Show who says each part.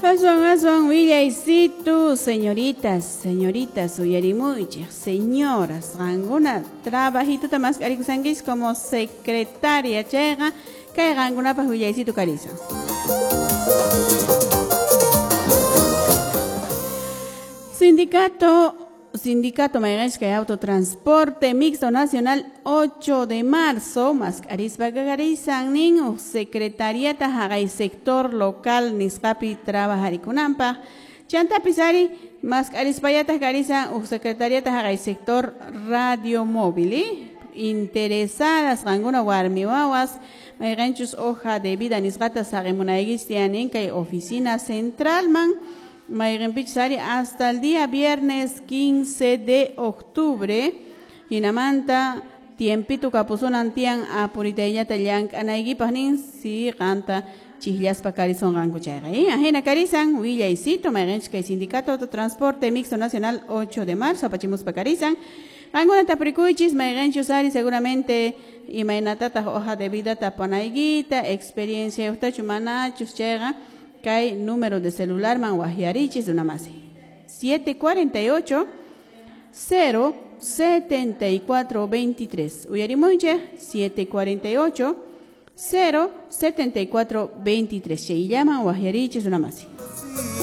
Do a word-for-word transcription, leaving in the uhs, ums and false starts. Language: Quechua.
Speaker 1: Aswan aswan willaysitu, señoritas, señoritas, uyarimuychik, señoras, qankuna trabajituta mask'arikusankichis como secretaria chayqa kay qankunapaq willaysitu karisan. Sindicato Sindicato mayqanchis kay Autotransporte Mixto Nacional ocho de marzo mask'arispa karisan nin uq secretariata haqay sector local nisqapi trabajarikunanpaq chantapis ari mask'arispallataq karisan uq secretariata haqay sector radio móvil, ¿eh? Interesadas qankuna warmi wawas mayqanchus hoja de vida nisqata saqimunaykichis tiyanin kay oficina centralman mayqinpichus ari hasta el día viernes quince de octubre hinamanta tiempito kapusunan tiyan apuritayllata llank'anaykipaq nin si qanta chiqllaspa karisonqanku chayqa, ¿eh? Ajina karisan willaysito mayqinchus kay Sindicato Autotransporte Mixto Nacional ocho de marzo apachimuspa karisan qankuna tapurikuychis mayqinchus ari seguramente imaynatataq hoja de vida tapanaykita experiencia yuqtachu manachus chayqa kay número de celular man wahyarichis runamasi siete cuarenta y ocho cero setenta y cuatro veintitrés uyarimuychik siete cuarenta y ocho cero setenta y cuatro veintitrés chayllaman wahyarichis runamasi.